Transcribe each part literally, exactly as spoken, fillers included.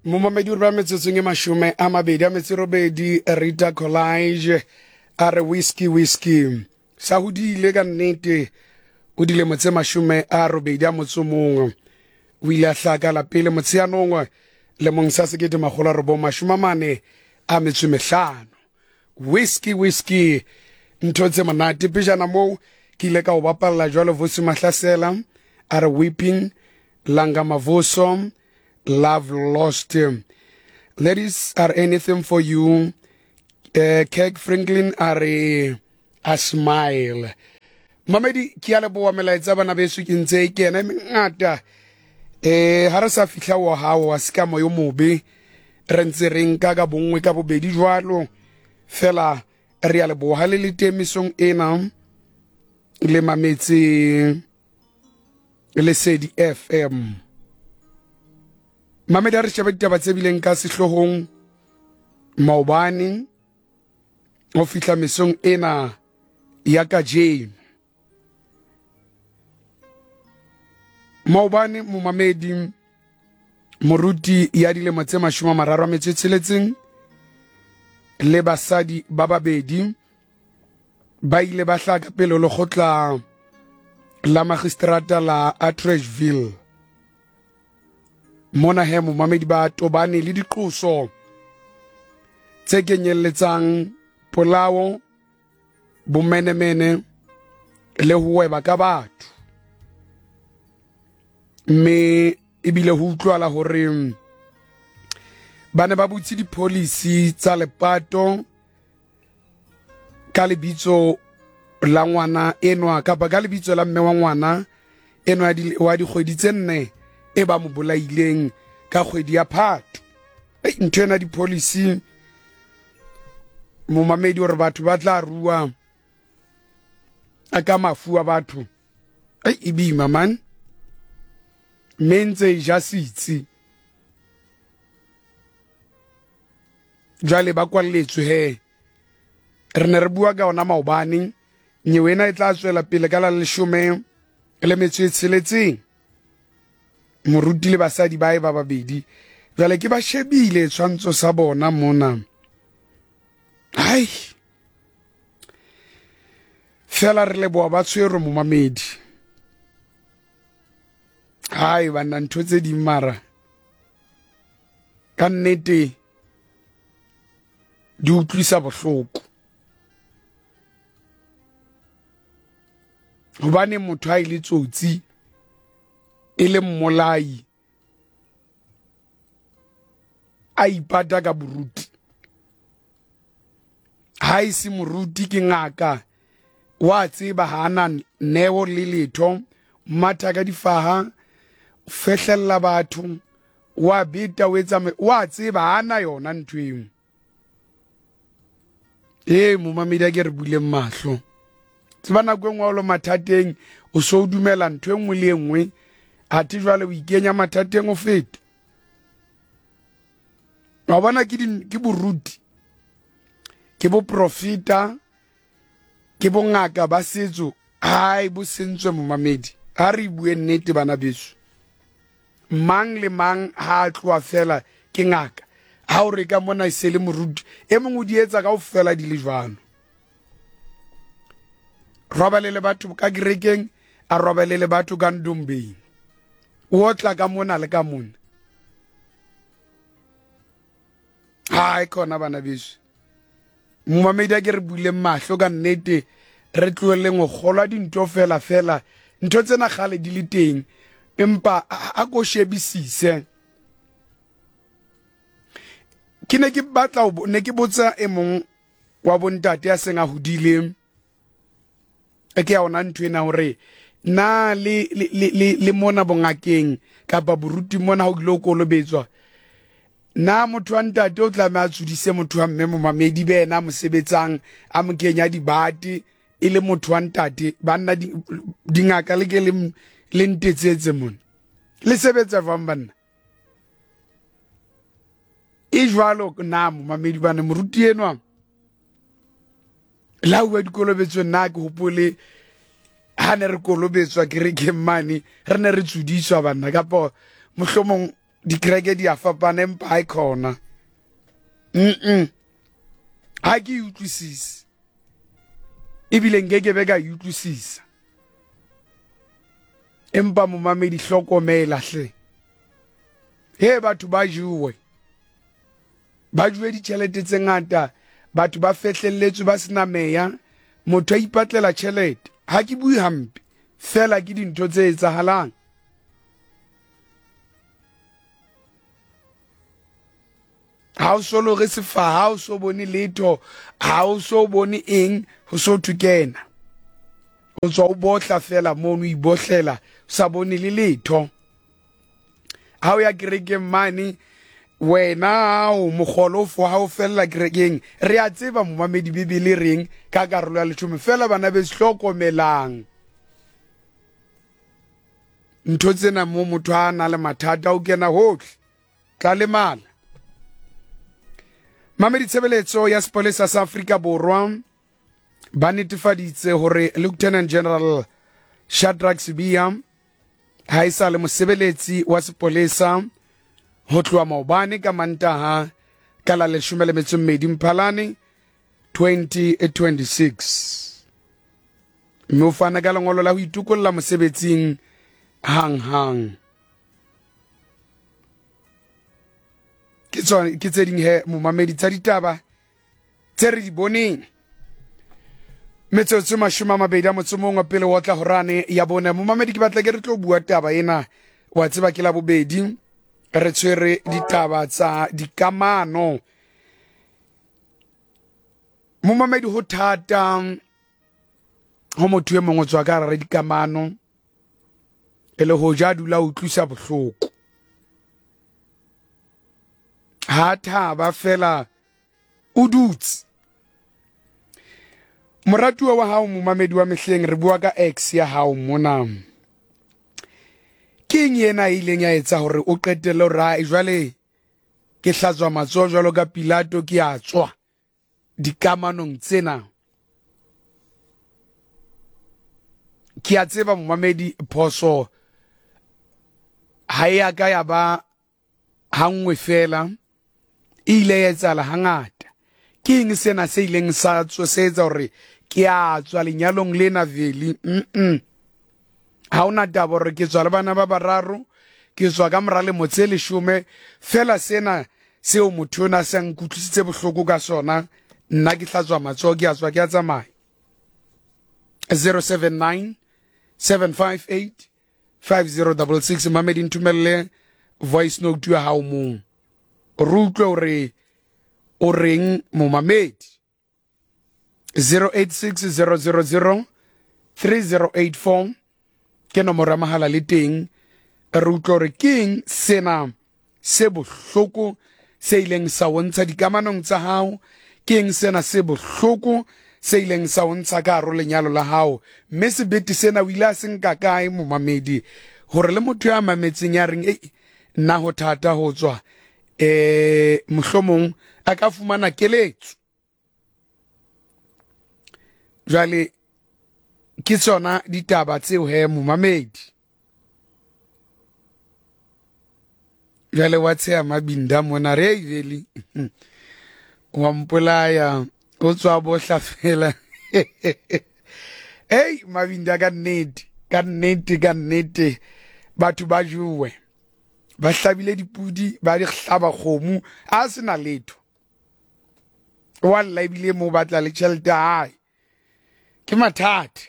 Momamedi o re ba metsotsong e mashome a mabedi a metso e robedi. Rita Collage a re whisky whisky sa hodile ka nnete. O dilemo tse mashome a robedi a motso mongwe. O ile a hlaka la pele motsheanong lemong sa sekete makgolo a robong mashome a mane a metso e mehlano. Whisky whisky, ntho tse monate. Pejana moo ke ile ka o bapalla jwalo Vusi Mahlasela a re weeping, Langa Mavuso love lost, ladies are anything for you. uh, Kirk Franklin a re a smile. Mamedi, ke a leboha melaetsa bana beso, ke ntse e kena e mengata. Eh ha re sa fihla wa hao wa se ka moyo mobe, re ntse re nka ka bonngwe ka bobedi jwalo fela. Re a leboha le le temisong ena le mametse Lesedi F M. Mamedi, a re shebe ditaba tse bileng ka sehloohong maobane ho fihla mesong ena ya kajeno. Maobane momamedi, moruti ya dilemo tse mashome a mararo a metso e tsheletseng le basadi ba babedi ba ile ba hlaha pele ho lekgotla la magistrata la Atteridgeville. Mona he momamedi ba tobane le diqoso tse kenyelletsang polao, bomenemene le ho weba ka batho. Mme ebile ho utlwala hore ba ne ba butse di-policy tsa lepato ka lebitso la ngwana enwa kapa ka lebitso la mme wa ngwana enwa wa dikgwedi tse nne e ba mo bolaileng ka kgwedi ya Phato. Ei, ntho ena di-policy momamedi, hore batho ba tla rua a ka mafu a batho. Ei, e boima man, mme ntse e ja setsi. Jwale ba kwalletswe he. Re ne re bua ka ona maobane. Nyewe ena e tla tswela pele ka la leshome le metso e tsheletseng. Moruti le basadi ba e ba babedi jwale ke ba shebile tshwantsho sa bona mona. Hai, fela re leboha ba tshwerwe momamedi. Hai banna, ntho tse ding mara ka nnete di utlwisa bohloko. Hobane motho ha e le tsotsi e le mmolai a ipata ka boruti. Ha e se moruti ke ngaka, wa tseba ha ana neo le letho, matha ka difaha, fehlella batho, wa beta o etsa, wa tseba ha ana yona ntho eo. Ee momamedi, a ke re buleng mahlo. Tseba nako e nngwe o le mathateng o so o dumela ntho e nngwe le e nngwe, athe jwale o ikenya mathateng o feta. Wa bona ke ke boruti, ke boprofeta, ke bongaka ba setso. Hai, bo sentswe momamedi. Ha re bue nnete bana beso. Mang le mang ha a tloha fela ke ngaka. Ha o re ka mona e se le moruti, e mong o di etsa kaofela di le jwalo. Robale le batho ka kerekeng, a robale le batho ka ndombeng. O otla ka mona le ka mona. Hai khona bana beso. Momamedi, a ke re buleng mahlo ka nnete, re tlohelleng ho kgolwa dintho fela fela. Ntho tsena kgale di le teng, empa a ko shebisise. Ke ne ke batla ne ke botsa e mong wa bontate ya seng a hodile, e ke ya ona ntho ena hore na le le le le mona bongakeng kapa boruti mona ha o ile o kolobetswa, na motho wa ntate o tlameha a tsudise motho wa mme momamedi be yena a mo sebetsang a mo kenya dibate e le motho wa ntate. Banna dingaka le ke le le ntetsetse mona le sebetsa jwang banna? E jwalo na momamedi bana, moruti enwa la uwa dikolobetsong, nna ke hopole ha ne re kolobetswa kerekeng mane re ne re tsudiswa banna, kapa mohlomong Dikereke di a fapana empa ha e khona. Mm-mm. Ha ke e utlwisise. Ebile nke ke be ka e utlwisisa. Empa momamedi hlokomela hle. He batho ba jowe. Ba jowe ditjhelete tse ngata, batho ba fehlelletswe ba sena meya, motho a ipatlela tjhelete. Ha ke bue hampe, fela ke dintho tse etsahalang. Ha o so lore sefaha, ha o so bone letho, ha o so bone eng, ho so thwe kena. O tswa o bohla fela mono, o ibohlela, o sa bone le letho. Ha o ya kerekeng mane, wena o mokgolo fo ha o fella kerekeng. Re a tseba momamedi Bibele reng ka karolo ya leshome, fela bana be hlokomelang. Ntho tsena mo motho a na le mathata o kena hohle, tla lemala. Mamedi tshebeletso ya sepolesa sa Afrika Borwa ba netefaditse hore Lieutenant General Shadrack Sibiya ha e sa le mosebeletsi wa sepolesa ho tloha maobane ka Mantaha ka la leshome le metso e mmedi Mphalane twenty twenty-six. Mme o fana ka lengolo la ho itokolla mosebetsing hang-hang. Ke tsone, ke tse ding he momamedi tsa ditaba tse re di boneng. Metsotso mashome a mabedi a motso mongwe pele wa tla horane ya bone. Momamedi ke batla ke re tlo bua taba ena, wa tseba ke la bobedi re tshwere ditaba tsa dikamano. Momamedi ho thata ho motho e mongwe tswa ka hara dikamano e le ho ja dula o utlwisa bohloko. Ha thaba fela o dutse. Moratuwa wa hao momamedi wa mehleng, re bua ka ex ya hao mona. Ke eng ena e ileng ya etsa hore o qetelle hore ha jwale ke hlatswa matsoho jwalo ka Pilato ke a tswa dikamanong tsena? Ke a tseba momamedi phoso ha e a ka ya ba hanngwe fela, e ile ya etsahala hangata. Ke eng sena se ileng sa tsosetsa hore ke a tswa lenyalong lena vele? Mm-mm. Ha hona taba hore ke tswa le bana ba bararo, ke tswa ka mora lemo tse leshome, fela sena seo motho ona se nkutlwisitse bohloko ka sona, nna ke hlatswa matsoho ke a tswa ke a tsamaya. zero seven nine seven five eight five zero double six. Mamedi ntumelle voice note ya hao mong, re utlwe hore o reng momamedi. zero eight six zero zero zero three zero eight four ke nomoro ya mahala le teng. Re utlwe hore ke eng sena se bohloko se ileng sa o ntsha dikamanong tsa hao, ke eng sena se bohloko se ileng sa o ntsha ka hare ho lenyalo la hao, mme sebete sena o ile a se nka kae momamedi, hore le motho ya mametseng ya reng ei nna ho thata ho tswa, eh mohlomong a ka fumana keletso. Jwale ke tsona ditaba tseo he momamedi. Jwale wa tsheha Mabinda mona re vele wa mpolaya o tswa bohla fela. Hey Mabinda, ka nnete ka nnete ka nnete batho ba jowe, ba hlabile dipudi, ba di hlaba kgomo, a sena letho. Wa lla ebile mo batla le tjhelete hae. Ke mathata.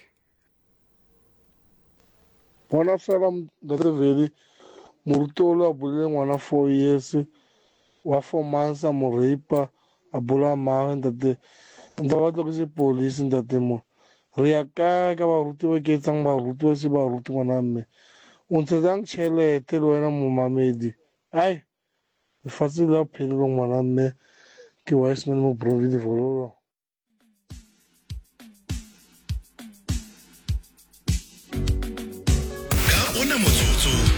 Ngwana fela ntate Vele, moruti o le a bolele ngwana four years, wa four months a mo rape, a bolaya mmagwe ntate. Ntse ba tlo ke sepolesa ntate mo. Re ya kae ka baruti ba ke etsang baruti ba se baruti ngwana mme. O ntshetsang tjhelete le wena momamedi. Ai, lefatshe la phelelo ngwana mme, ke Wiseman mo Providence Vololo.